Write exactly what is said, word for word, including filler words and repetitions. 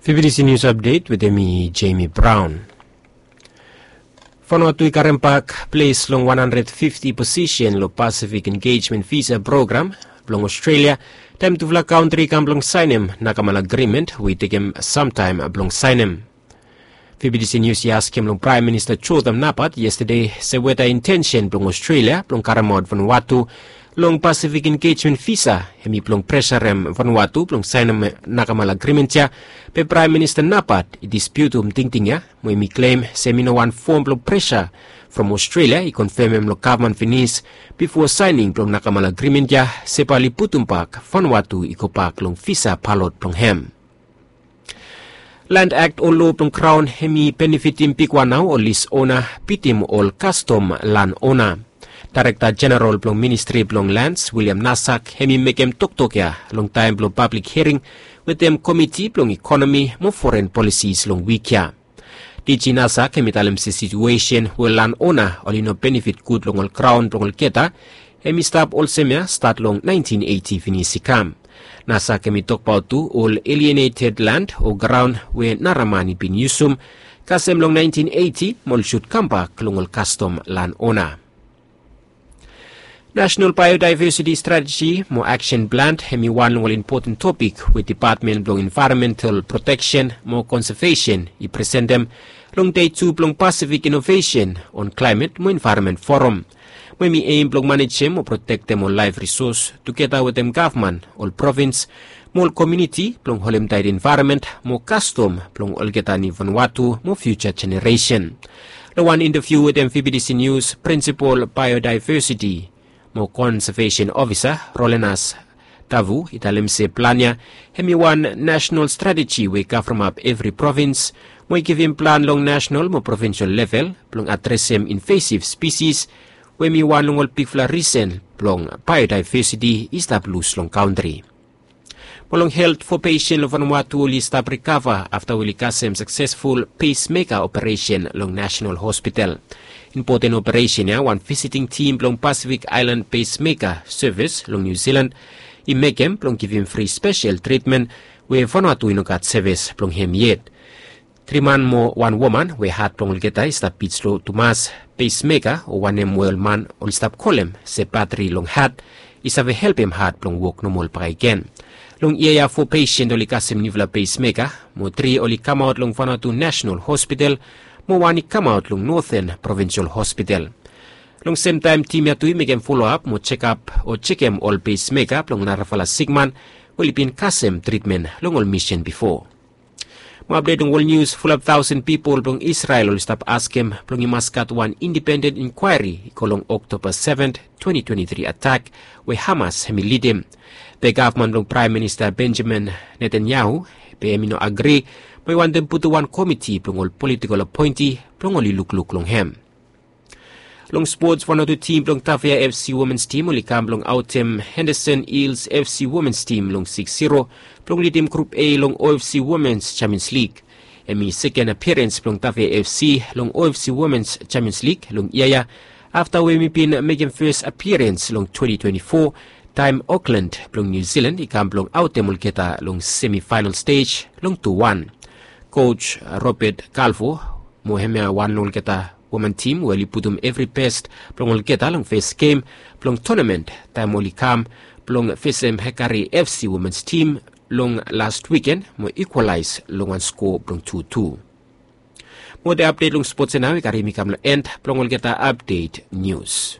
Fifty C News Update wetem mi, Jamie Brown. Vanuatu i karem bak ples long wan handred fifti posisen long Pacific Engagement Visa Program blong Australia, taem tufala kantri i kam blong saenem Nakamal Agreement we i tekem samtaem blong saenem. Fifty C News i askem long Praem Minista Jotham Napat yestade se weta intensen blong Australia blong karemaot Vanuatu long Pacific Engagement Visa hemi blong presarem Vanuatu blong saenem Nakamal Agreement ya, be Praem Minista Napat i dispiutum tingting ya, mo hemi klem se hemi no wan fom blong presa from Australia i konfemem long gavman finis bifo saening blong Nakamal Agreement ya se bae oli putum bak Vanuatu i go bak long visa balot blong hem. Land Act o loa blong Kraon hemi benefitim bigwan nao ol list ona bitim ol kastom lan ona. Daerekta Jeneral blong Ministri blong Lands, William Nasak, hemi mekem toktok ya long taem blong pablik hiaring wetem Komiti blong Ikonomi mo Foren Polisis long wik ya. D G Nasak hemi talem se situesen we lan ona oli no benefit gud long ol graon blong olgeta, hemi stap olsem ya stat long naentin eiti finis i kam. Nasak hemi tokbaot tu ol alienated land o graon we nara man i bin yusum kasem long naentin eiti mo oli sud kambak long ol kastom lan ona. National Biodiversity Strategy mo Action Plan hemi wan long ol impoten topik we Depatmen blong Envaeronmental Proteksen mo Konsevesen i presentem long dei tu blong Pacific Innovation on Climate mo Envaeronment Forum, we hemi eim blong manejem mo protektem ol laef risos tugeta wetem gavman, ol provins mo ol komuniti blong holem taet envaeronmen mo kastom blong olgeta ni Vanuatu mo fiuja jeneresen. Long wan intaviu wetem V B T C News, Prinsipal Biodiversiti mo Konsevesen Ofisa Rolenas Tavu i talem se plan ya hemi wan nasenal strateji we i kavremap evri provins mo i givim plan long nasenal mo provinsol level blong adresem invasiv spisis, we hemi wan long ol bigfala risen blong biodiversiti i stap lus long kantri. Mo long helt, fo pesen long Vanuatu oli stap rikava afta we oli kasem saksesful pacemaker operesen long National Hospital. Impoten operesen ya wan visiting tim blong Pacific Island Pacemaker Service long New Zealand i mekem blong givim fri spesel tritmen we Vanuatu i no gat sevis blong hem yet. Tri man mo wan woman we hat blong olgeta i stap bit slo tumas, pacemaker o wanem we ol man oli stap kolem se batri long hat i save helpem hat blong wok nomol bakegen. Long yia ya fo pesen oli kasem niufala pacemaker, mo tri oli kamaot long Vanuatu National Hospital mo wan i kamaot long Northern Provincial Hospital. Long semtaem tim ya tu i mekem foloap mo jekap o jekem ol pacemaker blong narafala sikman we oli bin kasem tritmen long ol misin bifo. Mo apdet long wol nius, fulap taosen pipol blong Isrel oli stap askem blong i mas gat wan indipenden inkwaeri i go long Oktoba seven, twenty twenty-three atak we Hamas hemi lidim. Be gavman blong Praem Minista Benjamin Netanyahu be hemi no agri, mo i wantem putum wan komiti blong ol politikol apoenti blong oli lukluk long hem. Long spots, Vanuatu tim blong Tafea F C womens tim oli kam blong aotem Henderson Hills F C womens tim long six zero blong lidim grup A long O F C Womens Champions League. Hemi seken apiarens blong Tafea F C long O F C Womens Champions League long yia ya, afta we hemi bin mekem fes apiarens long twenty twenty-four, taem Auckland blong New Zealand i kam blong aotem olgeta long semifaenal stej long tu wan. Koj Robert Calvo mo hemia wan long olgeta woman tim we oli putum evri bes blong olgeta long fes gem blong tonamen taem oli kam blong fesem Hekari F C womens tim long las wiken mo ikwalaes long wan sko blong tu tu. Mo olgeta apdet long spots ya nao i karim mi kam long en blong olgeta apdet nius.